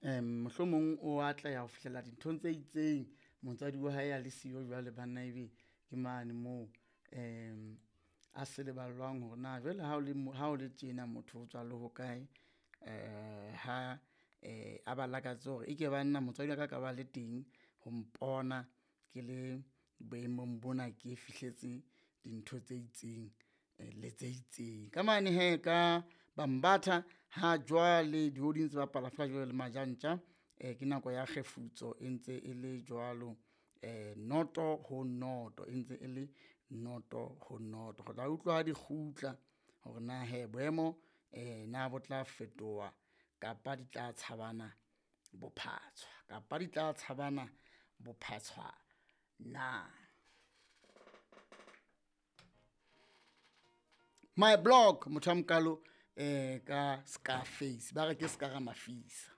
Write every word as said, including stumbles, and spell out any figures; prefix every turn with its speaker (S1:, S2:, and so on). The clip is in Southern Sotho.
S1: Um mohlomong o atleha ho fihlela dinthong tse itseng, motswadi wa hae a le siyo jwale banna ebe ke mane moo um a seleballwang hore na jwale ha o le ha o le tjena motho o tswa le hokae. Um ha a ba lakatse hore e ke banna motswadi wa ka a ka ba le teng ho mpona ke le boemong bona, ke fihletse dintho tse itseng le tse itseng. Ka mane hee ka Bambatha ha jwale dihodi ntse bapala feela jwalo le Majantja. Ke nako ya kgefutso e ntse e le jwalo noto ho noto, e ntse e le noto ho noto. Re tla utlwa ha di kgutla hore na hee boemo na bo tla fetoha kapa di tla tshabana bophatshwa, kapa di tla tshabana bophatshwa na. My blog motho a mokalo ka Scarface, ba re ke ska ra mafisa.